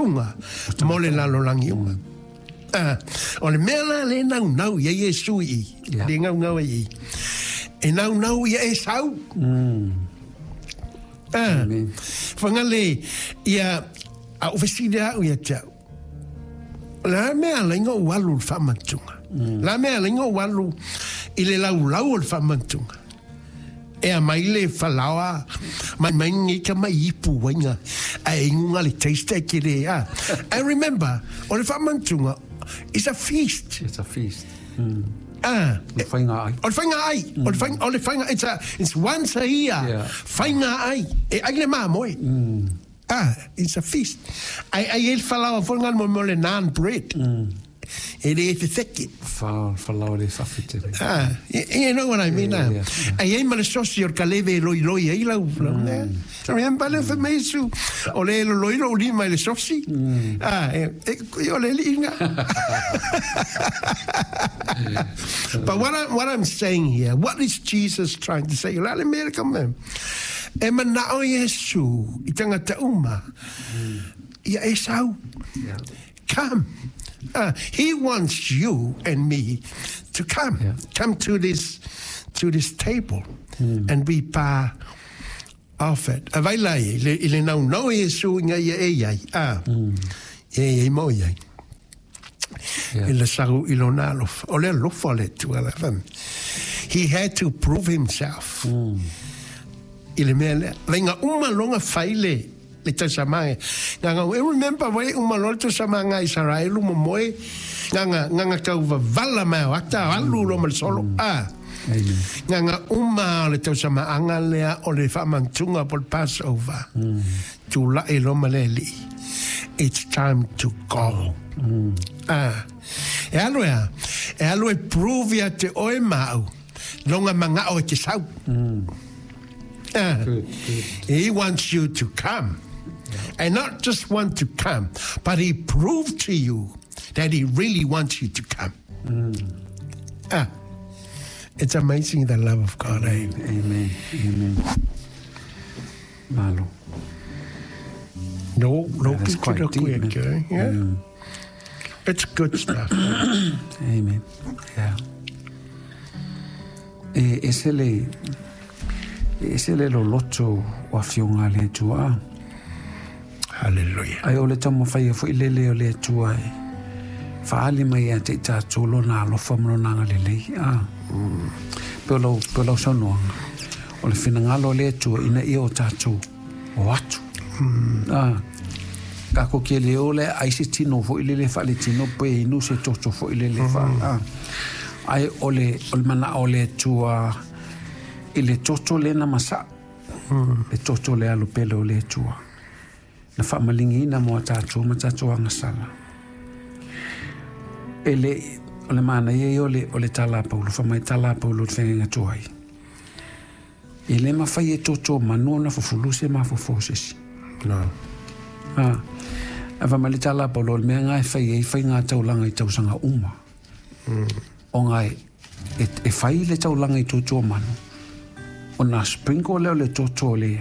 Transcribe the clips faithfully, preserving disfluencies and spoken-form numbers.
faamantuga mo le lalolagi uma. Ah, o le mea la le naunau ia Iesu i i, Yeah. le gaugau ai i. E naunau ia e sau. Ah, Amen. Fagale ia a o fesili au ia te au. La mea la inga o alu le faamantuga. La mea la inga o alu i le laulau o le faamantuga. E a mai le falaoa, mai mai ngi ka mai ipu wainga, a e ingunga le taste e ke le a. I remember, o le faamantuga is a feast. It's a feast. Ah, Le faiga ai. o le faiga ai, o le faiga, o le faiga, it's a, it's once a year. Yeah. Faiga ai, e ai le mamoe. Ah, it's a feast. Ai ai el falaoa fo ngal mo mo le naan bread. E le e fefeke. Fa falao le fafetele. Ah, you, you know what I mean? Yeah, ah. yeah, Ai ai ma le sosi o le kaleve e loi loi ai lau. Mm. Remember le fa meisu. O le lo loi lo lima i le sosi. Ah, e, e, o le liinga. But what, I, what I'm saying here, what is Jesus trying to say? La le mea ka me. E manao Iesu i tangata uma. Ia e sau. Yeah. Come. Uh, he wants you and me to come. Yeah. Come to this to this table and be part of it. A vai lai, i le, i le nau nau Iesu inga ia e iai. Ah. E e mo iai. Yeah. I le saru i lona alofa. O le alofa le tua la fam. He had to prove himself. I le mea lea. Vainga uma longa fai le le tausamanga. Nganga, e remember wai uma loa le tausamanga Israelu mo moe. Nganga, nganga kau vavala mai o ata alu lo ma le solo. Ah. Amen. Nganga uma o le tausamaanga lea o le faamantuga po le Passover. Tula'i lo ma le alii. It's time to go. Ah. E alu ea, e alu e prove ia te oe mau, longa mangao e te sau. Ah. Good, good. He wants you to come. And not just want to come, but he proved to you that he really wants you to come. Ah. It's amazing the love of God, eh? Amen. Amen. Malo. No, no, That's quite deep, man. quick, eh? Yeah. It's good stuff. Amen. Yeah. E ese le e ese le loloto o afioga a le Atua. Hallelujah. Ai o le taumafai ai foi lele o le Atua e faaali mai ia te i tatou lona alofa ma lona agalelei. Ah. Pe o lau, pe o lau saunoaga. O le finagalo o le Atua ina ia o tatou o atu. Ah. Kako ke le o le ai se tino foi lele fa le tino pe inu se toto foi lele fa. Ah. Ai o le o le mana o le Atua i le toto le na masa. Le toto le alo pele o le Atua. Na faamalingiina mo a tatou ma tatou agasala. E le o le manaia ia o le o le tala a Paulo, fai mai tala a Paulo le feagaiga tuai. E le mafai e toto manu ona fufulu se mafaufau o se isi. No. Ah. A fai mai le tala a Paulo, o le mea lena e fai ai faiga taulaga i tausaga uma. Ona e, e, e fai le taulaga i toto manu. Ona sprinkle lea o le toto o le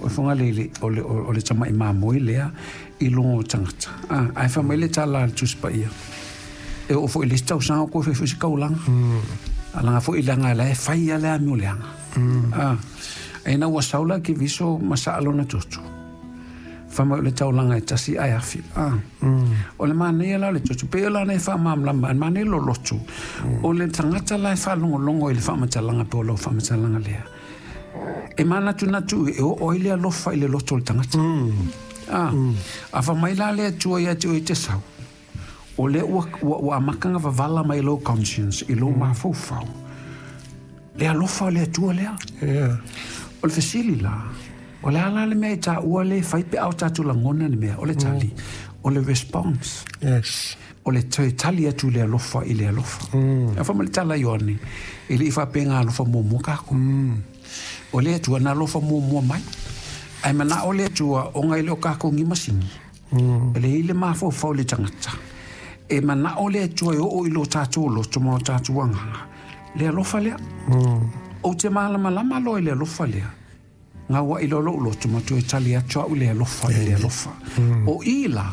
o fonga le le o le o le tama'i mamoe lea i luga o tagata. Ah, ae fai mai le tala a le Tusi Paia. E oo foi i le isi tausaga o koe fai foi se kaulaga. Alaga foi leaga la e fai a le amio leaga. Ah, e na ua sau la ke viso ma saa lona toto. Fai mai o le taulaga e tasi ae afi. Ah. O le manaia la o le toto. Pe o la na e faamalamalama, e manaia loloto. O le tagata la e faalogologo i le faamatalaga pe o lau faamatalaga lea. E manatunatu e oo ai le alofa i le loto o le tagata. Ah. A fai mai la le Atua ia te oe te sau. O le ua, ua, ua amakaga vavala mai lou conscience i lou mafaufau. Le alofa o le Atua lea. Yeah. O le fesili la, o le ala le mea i taua le fai pe au tatou lagona le mea, o le tali, o le response. Yes. O le toe tali atu le alofa i le alofa. Mm. A fai mai le tala Ioane, e le i faapega alofa muamua kako. Mm. O le Atua na alofa muamua mai. Ai mana o le Atua o ngai le o kako ngi masini. Mm. E le i le mafaufau le tagata. E mana o le Atua e oo i lo tatou loto ma o tatou agaga. Le alofa lea. Mm. O te malamalama loa i le alofa lea. Ngā wa i lo lo loto ma toe tali atu au le alofa i le alofa. O i la,